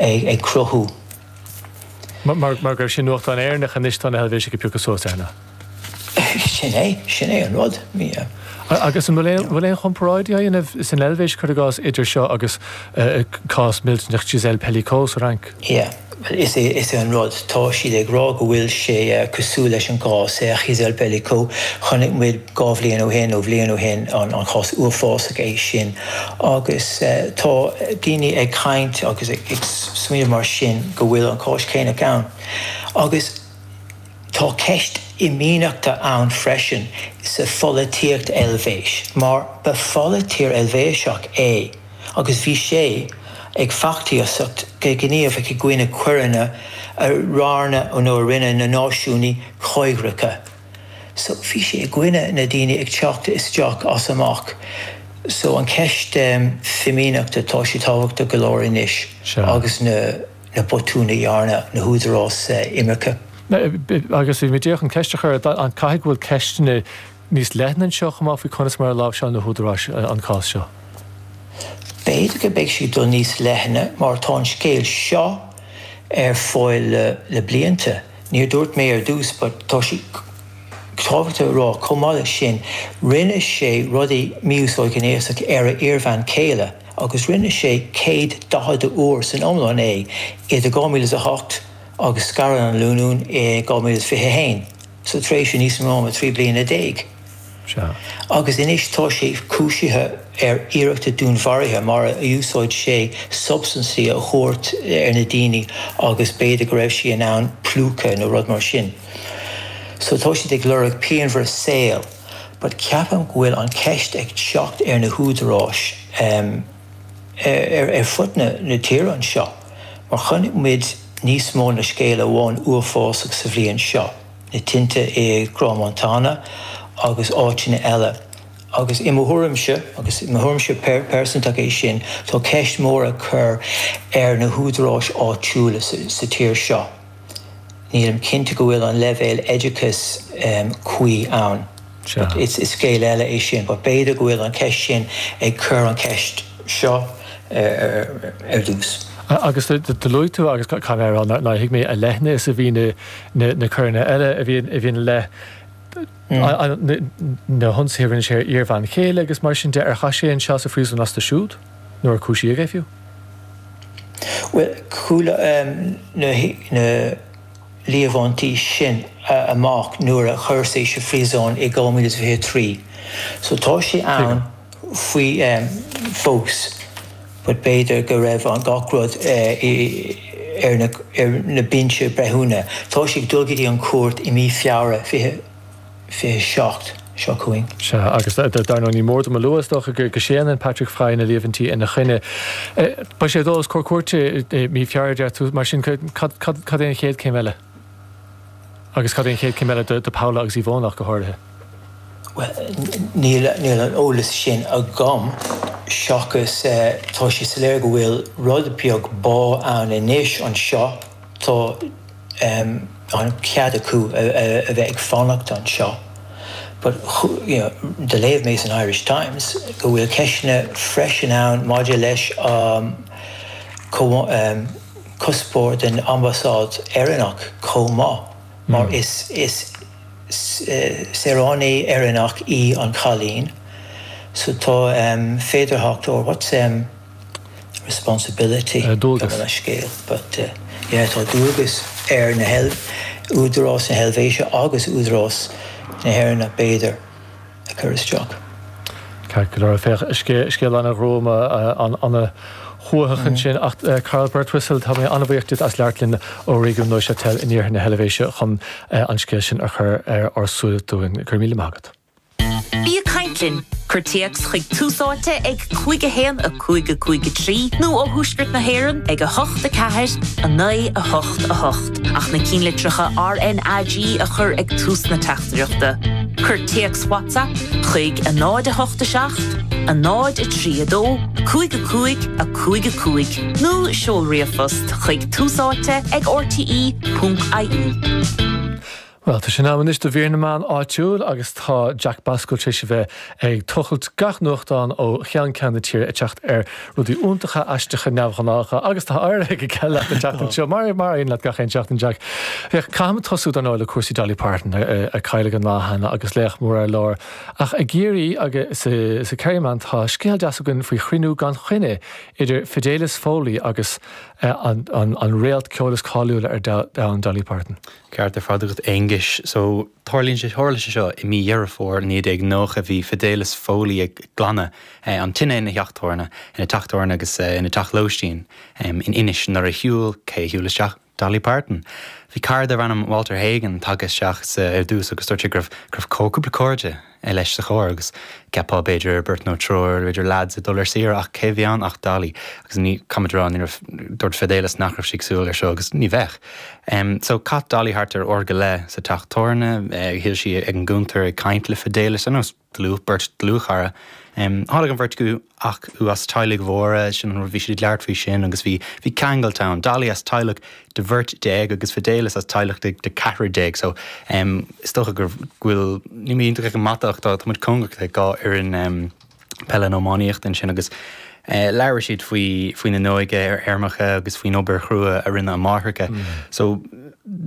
Ag cruthú. Mar go raibh sé i nuachtán Éireannach anois tá na hEilvéisigh ag piocadh suas air na. Sin é, sin é an rud. Yeah. Agus an bhfuil aon, bhfuil aon chomparáid á dhéanamh san Eilvéis, cuir i gcás, idir seo agus cás millteanach Gisèle Pelicot sa Fhrainc? Yeah. Bhuel, is é, is é an rud, tá siad ag rá go bhfuil sé cosúil leis an gcás Gisèle Pelicot. Chonaic muid 2 bhliain ó shin, nó bhliain ó shin, an cás uafásach é sin. Agus tá daoine ag caint agus ag smaoineamh mar sin go bhfuil an cás céanna ann. Agus tá ceist fhimíneachta ann freisin sa pholaitíocht Eilvéis, mar ba pholaiteoir Eilvéiseach é. agus bhí sé ag feachtasaíocht go gníomhach i gcoinne coireanna a rinne nó a rinne na náisiúnaigh choigríche. So bhí sé i gcoinne na daoine ag teacht isteach as amach. So an cheist fimíneachta tá sé tábhachtach go leor anois agus na na botúin a dhearna na húdaráis imirce. Agus bhí mé díreach chun ceist a chur, an caithfidh go bhfuil ceisteanna níos leithne anseo chomh maith faoi conas mar a láimhseáil na húdaráis an cás seo. B'fhéidir go mbeidh sé ag dul níos leithne mar tá an scéal seo ar fáil le blianta. Níor dúirt mé ar dtús but tá sé tábhachtach a rá chomh maith leis sin rinne sé rudaí mí-úsáid ghnéasach ar a iarbhean chéile agus rinne sé 140 uair san iomlán é idir 2008 agus scaradh an lánúin i 2021. Sa tréimhse níos mó ná 13 bliana. Sea. Agus anois tá sé cúisithe ar iarrachta dúnmharaithe mar a úsáid sé substaintí a thabhairt ar na daoine agus b'fhéidir go raibh sé in ann plúchadh nó rud mar sin. So tá siad ag lorg pianbhreith saoil but ceapaim go bhfuil an cheist ag teacht ar na húdaráis ar fud na tíre anseo mar chonaic muid níos mó na scéal amháin uafásach sa bhliain seo, na tinte i gCrans-Montana agus áiteanna eile. Agus i mo thuairimse, agus i mo thuairimse pearsantach é sin, tá ceist mór a chur ar na húdaráis áitiúla sa tír seo. Nílim cinnte go bhfuil an leibhéal oideachais cuí ann. But is scéal eile é sin. But b'fhéidir go bhfuil an cheist sin ag cur an cheist seo ar dtús. Agus do luaigh tú, agus caithfidh mé a rá nár thuig mé a leithne is a bhí na coireanna eile a bhí ina leith, na hionsaithe a rinne sé ar iarbhean chéile agus mar sin de, ar chaith sé anseo sa phríosún astu siúd? Nó ar cúisíodh é fiú? Bhuel, chuala na líomhaintí sin amach nuair a chuir sé sa phríosún i 2023. So tá sé ann faoi fós but b'fhéidir go raibh an gach rud ar na binse breithiúna. Tá sé ag dul go dtí an chúirt i mí Feabhra 27 seo chugainn. Sea, agus dar ndóigh ní mór dom a lua, is dócha, go séanann Patrick Frey na líomhaintí ina choinne. Beidh sé ag dul os comhair cúirte i mí Feabhra, a deir tú, mar sin cad é an chéad céim eile? Agus cad é an chéad céim eile do Paula agus Yvonne ach go háirithe? Bhuel, níl an eolas sin agam, seachas tá sé soiléir go bhfuil rud beag bá ann anois anseo. Tá an cead acu a bheith ag fanacht anseo but you know do léamh mé san Irish Times go bhfuil ceisteanna freisin ann maidir leis an cuspóir den ambasáid Éireannach chomh maith mar is is saoránaí Éireannach í an cailín so tá féidearthacht or what's responsibility Dualgas. Gabh mo leithscéal but yeah tá dualgas ar na hÚdarás na hEilvéise agus Údarás na hÉireann b'fhéidir a chur isteach. Ceart go leor, féach, scéal an-ghruama, an-shuaitheach ansin ach Carl Birtwistle, tá mé an-bhuíoch díot as labhairt linn ó réigiún Neuchâtel in iarthar na hEilvéise chun an scéal sin a chur ar ár súile dúinn. Go raibh míle maith agat. Bí ag caint linn! Cuir téacs chuig Tús Áite ag 5 1 5 5 3 nó ó Thuaisceart na hÉireann ag 8 4 9 8 8 ach na cinnlitreacha RnaG a chur ag tús na teachtaireachta. Cuir téacs WhatsApp chuig 0 8 7 0 3 2 5 5 5 5 nó seol ríomhphost chuig túsáite ag rte.ie. Bhuel, tá sé in am anois do mhír na meán áitiúil agus tá Jack Basquel tar éis a bheith ag tochailt gach nuachtán ó cheann ceann na tíre ag teacht ar rudaí iontacha, aisteacha, neamhghnácha agus tá éirithe go geal leat an tseachtain seo, mar mar a éiríonn leat gach aon seachtain, Jack. Féach, caithfimid tosú dar ndóigh le cúrsaí Dolly Parton a cailleadh an lá cheana agus laoch mór ar lár. Ach i gCiarraí agus sa Kerryman tá scéal deas againn faoi chruinniú gan choinne idir Fidelis Foley agus an réalt ceoil is cáiliúla ar domhan, Dolly Parton. Ceart ar fad agat Aonghuis. So, tarlaíonn sé, tharla sé seo i mí Dheireadh Fómhair 1990, bhí Fidelis Foley ag glanadh an tine ina theach tabhairne, ina teach tabhairne agus ina teach lóistín in Inis nuair a shiúil, cé a shiúil isteach? Dolly Parton. Bhí cara darbh ainm Walter Hagen tagtha isteach sa, ar dtús agus dúirt sé go raibh, go raibh cúpla cairde leis sa charr agus cheapfá b'fhéidir beirt nó triúr, b'fhéidir leaids ag dul ar saoire ach cé a bhí ann ach Dolly agus ní, caithfimid a rá, ní raibh, dúirt Fidelis nach raibh sé ag súil ar seo agus ní bheadh. So chas Dolly thart ar uair go leith sa teach tabhairne, shuigh sí ag an gcuntar ag caint le Fidelis ar nós dlúth, beirt dlúthchara. Tháinig an bheirt acu as teaghlaigh mhóra, sin an rud, bhí siad ag labhairt faoi sin agus bhí, bhí ceangailt ann. Dolly as teaghlach de bheirt déag agus Fidelis as teaghlach de, de ceathrar déag. So is dócha go bhfuil, níl mé iontach ag an mata ach tá, tá muid cóngarach le dhá fhoireann peile nó iománaíochta ansin agus labhair siad faoi, faoina n-óige ar fheirmeacha agus faoin obair chrua a rinne a máithreacha. So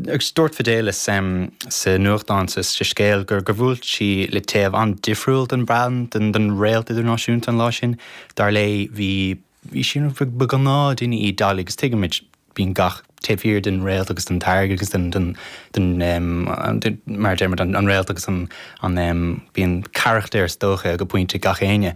agus dúirt Fidelis sa nuachtán sa scéal gur gur bhuail sí le taobh an-difriúil den bhean, den, den réalt idirnáisiúnta an lá sin. Dar léi bhí, bhí sí, ba ghnáthduine í Dolly agus tuigimid bíonn gach taobh thiar den réalt agus den t-airgead agus den, den, den, den, mar a deirimid, an, an réalt agus an, an, bíonn carachtar is dócha go pointe gach éinne.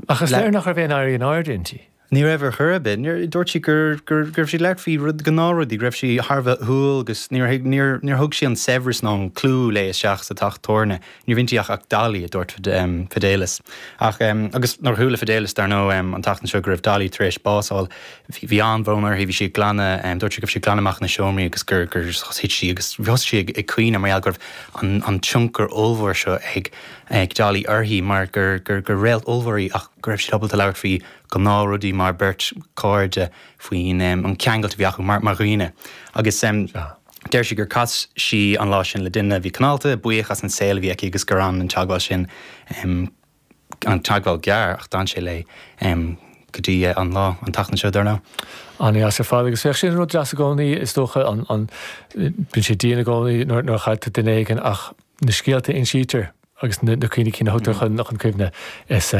Ach is léir nach raibh aon éirí in airde inti. Ní raibh ar chor ar bith. Níor, dúirt sí gur, gur, go raibh sí ag labhairt faoi rud, gnáthrudaí, go raibh sí thar a bheith humhal agus níor thuig, níor, níor thug sí an saibhreas ná an clú léi isteach sa teach tabhairne. Ní raibh inti ach, ach Dolly, a dúirt Fidelis. Ach, agus nuair a chuala Fidelis, dar ndóigh, an tseachtain seo go raibh Dolly tar éis bás a fháil, bhí, bhí an-bhrón uirthi, bhí sí ag glanadh, dúirt sí go raibh sí ag glanadh amach na seomraí agus gur, gur thit sí agus thosaigh sí ag, ag caoineadh mar gheall go raibh an, an tionchar ollmhór seo ag, ag Dolly uirthi mar gur, gur, gur réalt ollmhór í ach go raibh siad ábalta labhairt faoi ghnáthrudaí mar beirt cairde faoin an ceangailt a bhí acu mar dhaoine. Agus deir sí gur chas sí an lá sin le duine a bhí cineálta, buíoch as an saol a bhí aici agus gur fhan an teagmháil sin, an teagmháil gearr ach d'fhan sé léi go dtí an lá, an tseachtain seo dar ndóigh. An-deas ar fad agus bheadh sin rud deas i gcónaí is dócha, an, bíonn sé dian i gcónaí nuair a chailltear duine éigin ach na scéalta a insítear agus na cuimhní cinn a thugtar chun cuimhne, is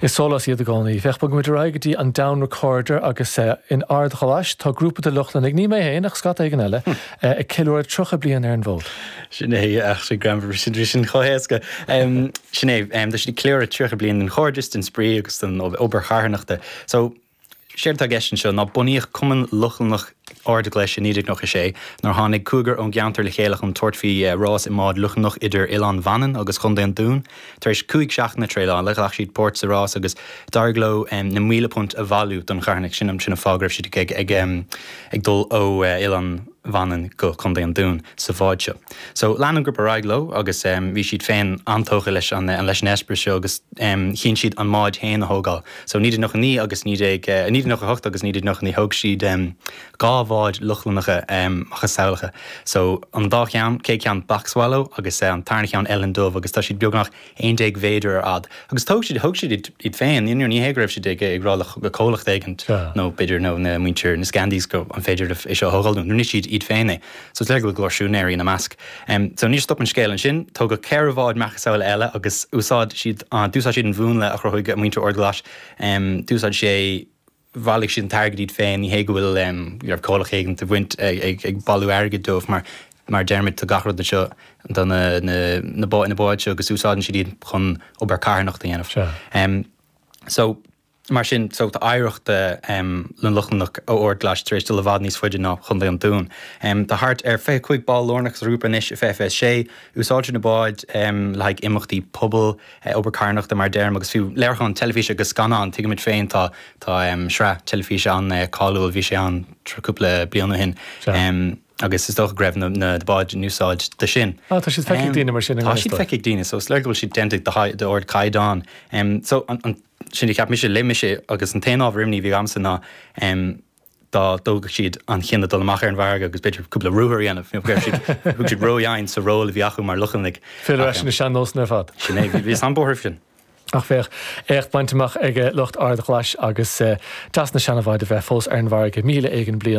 is sólás iad i gcónaí. Féach, bogfaidh muid ar aghaidh go dtí an Down Recorder agus in Ard Ghlais tá grúpa de Lochlannaigh, ní mé féin ach scata éigin eile, ag ceiliúradh 30 bliain ar an bhfód. Sin é, ach sin greannmhar, sin bhí sin chomh héasca. Sin é, tá siad ag ceiliúradh 30 bliain den chairdeas, den spraoi agus den obair charthanachta. So, Séard atá i gceist anseo ná bunaíodh Cumann Lochlannach Ard Ghlais i 1996 nuair a tháinig cúigear ón gceantar le chéile chun tabhairt faoi rás i mbád Lochlannach idir Oileán Mhanann agus Chontae an Dúin. Tar éis 5 seachtaine traenála, ghlac siad páirt sa rás agus d'éirigh leo na £1,000 a bhailiú don charthanacht. Sin an fáth go raibh siad ag dul ó Oileán Mhanann go Contae an Dúin sa bhád seo. So lean an grúpa ar aghaidh leo agus bhí siad féin an-tógtha leis an leis an eispéireas seo agus chinn siad an mbád féin a thógáil. So 1999 agus 19, 1998 agus 1999 thóg siad dhá bhád Lochlannacha macasamhlacha. So an dá cheann, chéad cheann Black Swallow agus an tarna cheann Eilean Dubh agus tá siad beagnach 11 mhéadar ar fhad. Agus thóg siad, thóg siad iad féin, you know, ní hé go raibh siad ag, ag rá le comhlacht éigint nó b'fhéidir nó na muintir na Scandies go an féidir libh é seo a thógáil dúinn. Rinne siad iad féin é. So is léir go bhfuil go leor siúinéirí ina measc. So níor stop an scéal ansin, tógadh ceithre bhád macasamhla eile agus úsáid siad, d'úsáid siad an mhúnla a chruthaigh muintir Ard Ghlais. D'úsáid sé, bhailigh siad an t-airgead iad féin, ní hé go bhfuil, go raibh comhlacht éigin ag baint, ag bailiú airgid dóibh mar, mar a deirimid, tá gach rud anseo do na, na, na báid seo agus úsáideann siad iad chun obair carthanachta a dhéanamh. So. Mar sin, so tá oidhreacht na Lochlannach ó Ard Ghlais tar éis dul i bhfad níos faide ná Chontae an Dúin. Tá thart ar 25 ball lárnach sa ghrúpa anois i 2026. Úsáidtear na báid le haghaidh imeachtaí pobail, obair carthanachta mar a deirim, agus fiú léiriúcháin teilifíse agus scannán. Tuigimid féin tá tá sraith teilifíse an-cáiliúil, bhí sé ann cúpla bliain ó shin. Agus is dócha go raibh na báid in úsáid do sin. Ah, tá siad feicthe ag daoine mar sin i Tá siad feicthe ag daoine, so is léir go bhfuil siad déanta d'ardchaighdeán. So an. Sin a cheap mise, léigh mise agus an t-aon ábhar imní a bhí agamsa ná. dá dtógfadh siad an cinneadh dul amach ar an bhfarraige agus b'fhéidir cúpla ruathar a dhéanamh. Go raibh siad, thug siad ródhomhain sa ról a bhí acu mar Lochlannaigh. Filleadh ar ais ar na sean-nósanna ar fad. Sin é, bhíos an-buartha faoi sin. Ach féach, éacht bainte amach ag lucht Ard Ghlais agus deas na seanabháid a bheith fós ar an bhfarraige 1,000 éigin bliain.